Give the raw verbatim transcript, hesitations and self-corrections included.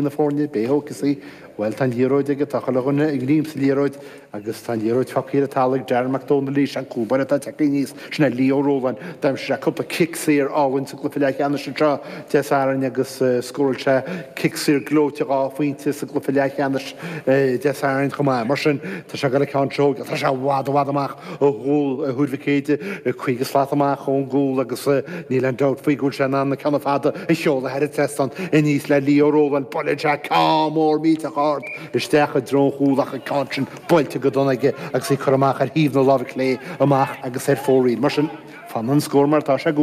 na foirne, b'é a thógfas í. Bhuel, tá an liathróid aige, tá chuile dhuine ag léim sa liathróid agus tá an liathróid fágtha ar an talamh ag Darren Mac Dónaill arís, an cúl báire atá tagtha aníos, sin é Leo Rowland. D'aimsigh sé cúpla cic saor álainn sa gcluiche leathcheannais anseo Dé Sathairn agus scóráil sé cic saor gleoite dhá phointe sa gcluiche leathcheannais Dé Sathairn chomh maith. Mar sin, tá sé ag dul an ceann seo, tá sé i bhfad i bhfad amach ó chúl Thuar Mhic Éadaigh, caoga slat amach ón gcúl agus níl aon dabht faoi go bhfuil sé in ann na ceanna fada a sheoladh thar an trasnán aníos le Leo Rowland. Buaileann sé ceann mór millteach ard isteach i dtreo an chúil ach an ceann sin buailte go dona aige agus é curtha amach ar thaobh na láimhe clé amach agus ar fóraoil. Mar sin, fanann an scór mar atá sé i gcónaí.